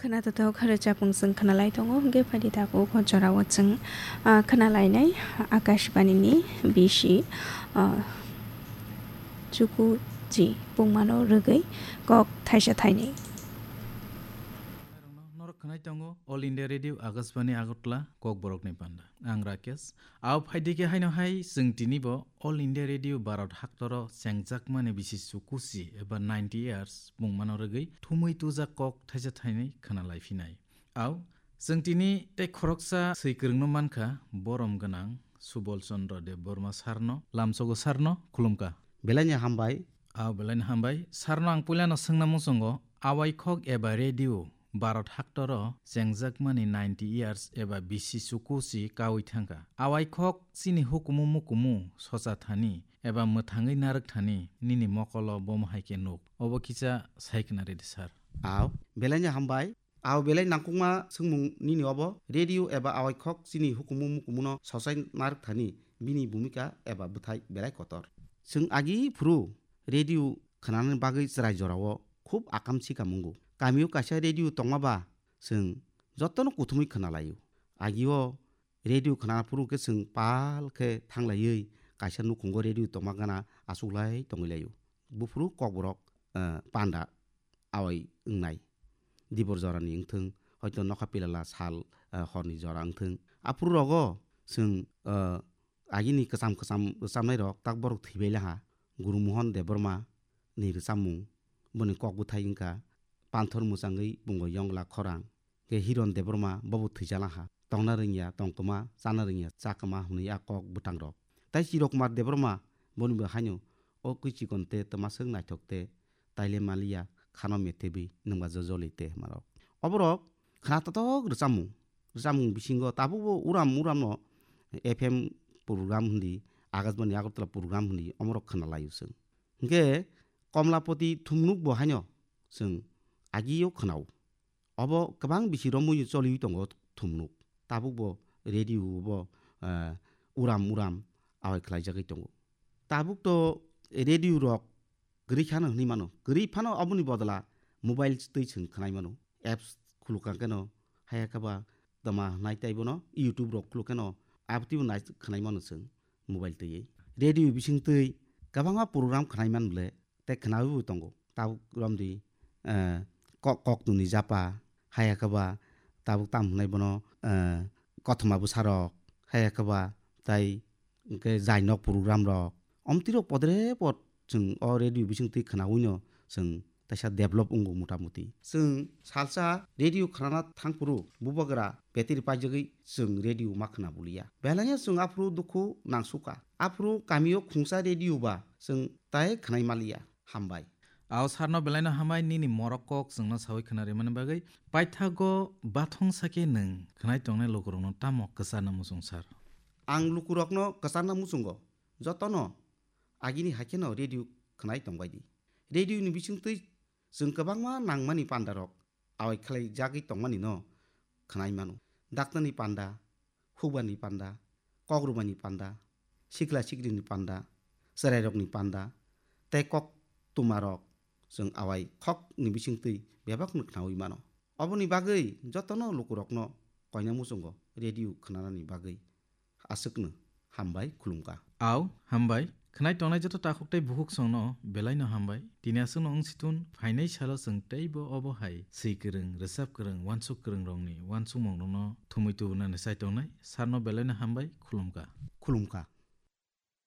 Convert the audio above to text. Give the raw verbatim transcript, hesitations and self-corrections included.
Khwnathothok rwchapmung chwng khwnalai tongo, hwnkhe phaidi tabuk o jorao chwng, ah, khwnalainai Akashbani ni bisi, ah, Chukuchi Pungmano rwgwi kok thaisa thainwi. Norok khwnai tongo All India Radio Akashbani Agartala, Kokborokni panda. Ang Rakesh. Ao phaidi khe haino hai chwng tini bo All India Radio Bharat haktoro chengjakmani bisi Chukuchi eba ninety years pungmano rwgwi thumwi tujak kok thaisa thainwi khwnalai phinai. Ao chwng tini tei khoroksa swi kwrwngno mankha, borom gwnang Subol Chandra Debbarma sarno, lamsogo sarno khulumkha. Belai ni hambai. Ao belai ni hambai. Sarno ang puilano swngna muchungo, awai khok eba radio Bharat haktoro chengjakmani ninety years eba bisi Chukuchi kaui thangkha. Awai khok chini hukumu mukumu socha thani eba mwthangwi narwk thani nini mokolo bomo hai khe nuk. Obo kisa sai khna ridi sir. Ao, belai ni hambai. Ao belai nangkukma swngmung nini obo. Radio eba awai khok chini hukumu mukumuno sochai narwk thani bini bhumika eba bwthai belai kotor. Chwng agi phuru radio khwnanani bagwi chwrai jorao khub akam sikam wngo. Kamio kaisa radio tongma ba chwng jotono kuthumwi khwnalaio. Agio radio khwna phuru khe chwng pal khe thanglaiwi kaisa nukhungo radio tongma gana achuklai tongwi laio. Buphuru kokborok, eh, panda awai wngnai. Dibor jorani wngthwng, hoito nokha pilala sal, eh, horni jora wngthwng. Aphuru rogo chwng, eh, agini kwcham kwcham rwchabnai rok tak borok thwibai laha. Guru Mohan Debbarma ni rwchapmung, boni kok bwthai wngkha Panthor Mwchangwi Bungo Yongla Khorang. Khe Hiron Debbarma bobo thwijala ha. Tongna rwngya tongkwma, chana rwngya chakwma hwnwi a kok bwtangrok. Tai Chirokumar Debbarma bonibo haino o kwi chikon te twmaswk naithok te taile maliya khano methebwi nwngba jojoli te hwnmarok. Oborok khna totok rwchapmung. Rwchapmung bisingo tabukbo uram uramno F M program hwndi, Akashbani Agartala program hwndi omorok khna laio chwng. Hinkhe Komlapati Thumnuk bo haino chwng agio khwnao. Obo kwbang bisi romwi choliwi tongo Thumnuk. Tabukbo radio bo, eh, uram uram awai khlaijagwi tongo. Tabuk to radio rok kwrwi khano hwnwi mano. Kwrwi phano oboni bodla mobile twi chwng khwnai mano. Apps khulukha keno, haya khe ba tama hwnai tei bono YouTube rok khuluk keno abtwi bo nai khwnai mano chwng mobile twi. Radio bising twi kwbangma program khwnai man bole tei khwnaui bo tongo. Tabuk romdi, eh, kok, kok tuni japa, haya khe ba tabuk tam hwnai bono, eh, kothoma bwsarok, haya khe ba tai hwnkhe jainok program rok. Omtwi rok podre pod chwng o radio bising twi khwnaui no chwng taisa develop wngo motamuti. Chwng salsa radio khwnana thangphuru bubagra battery paijagwi chwng radio ma khwna buliya. Belai no chwng aphuru dukhu nangsukha. Aphuru kamio khungsa radio ba chwng tai khwnai maliya. Hambai. Ao sarno belaino hambai nini morok kok chwngno saui khwna rimani bagwi. Paithago bathong sakhe nwng khwnai tongnai lukurokno tamo kwcharna muchung sar? Ang lukurokno kwcharna muchungo jotono agini haikheno radio khwnai tongbaidi. Radio ni bisingtwi chwng kwbangma nangmani pandarok awai khlai jagwi tongmani no khwnai mano. Daktarni panda, hukbarni panda, kokrwbaini panda, sikla sikrini panda, chwrairokni panda, tei kok tumarok chwng awai khokni bisingtwi bebakno khnaui mano. Oboni bagwi jotono lukurokno koina muchungo radio khwnanani bagwi aswkno hambai khulumkha. Ao, hambai. Khwnai tongnai joto takhuk tei bukhuk songno belaino hambai. Tini aswkno wng situn phainai salo chwng teibo obo hai swi kwrwng, rwchap kwrwng, uansuk kwrwng rokni uansukmung rokno thumui tubunani chai tongnai. Sarno belaino hambai, khulumkha. Khulumkha.